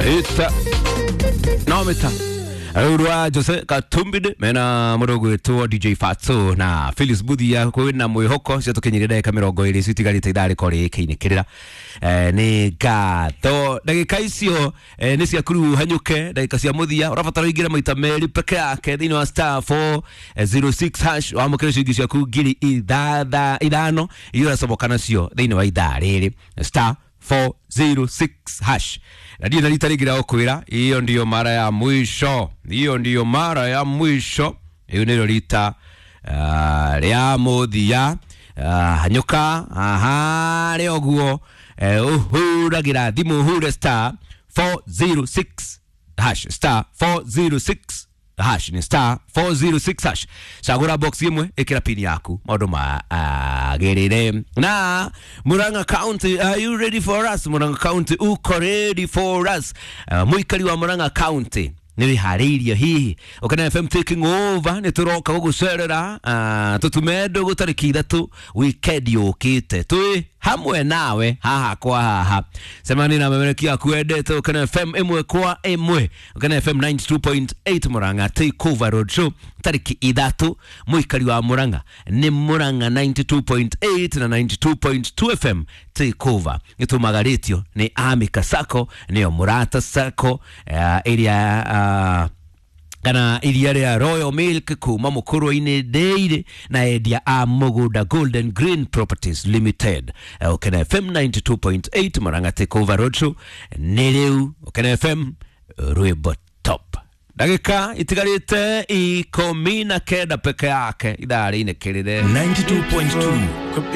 Ita no mita rä Jose Katumbide mena må ndå gwätwo DJ Fatso na Phyllis Buthia kwä na mwä cio tå kinyä ndagä ka mä rongo ä rä citigarä te ithaa rä korwo rä kä inä kä rä ra nä ngatho ndagä ka icio nä ciakuru hanyå ndagä ka cia må thia å rabatara å ingä re maita merä peke yake thä inä wa star 406 hash wamå kä re ciringi ciaku ngiri ithano iria å racomoka nacio thä inä wa ithaa rä rä star 406 hash na ndio na rita rĩngĩ rĩa gũkwĩra hiyo ndiyo mara ya mwisho, hiyo ndiyo mara ya mwisho, hiyo nĩrĩo rita rĩa mũthia. Hanyũka harĩa ũguo ũhũragĩra thimũ ũhure star 406 hash, star 406 hash ni star 406 hash. Cagũra box ĩmwe ĩkĩra pini yaku maũndũ magĩrĩre. Na Murang'a County, are you ready for us? Murang'a County, uko ready for us? Mũikari wa Murang'a County nä wĩharĩirie hihi Ũkena FM taking over nä tå roka gå gå cerera tå tume ndå tarĩki 3 weekend yũkĩte twĩ hamwe nawe haha kwa haha cemani na memereki aku endete Ũkena FM ĩmwe kwa ĩmwe. Ũkena FM 92.8 Murang'a take over road show tarĩki 3 mũikari wa Murang'a nĩ Murang'a 92.8 na 92.2 FM take over gĩtũmagarĩtio nĩ Amika Sacco nĩyo Mũrata Sacco ĩrĩa kana iria rĩa Royal Milk kuma mũkũrũ-inĩ Dairy na endia a mũgũnda Golden Green Properties Limited. Ũkena FM 92.8 Murang'a take over roadshow nĩ rĩu. Ũkena FM rwĩmbo top ndagĩka itigarĩte 19 peke yake ithaa rĩinĩkĩrĩre 92.2.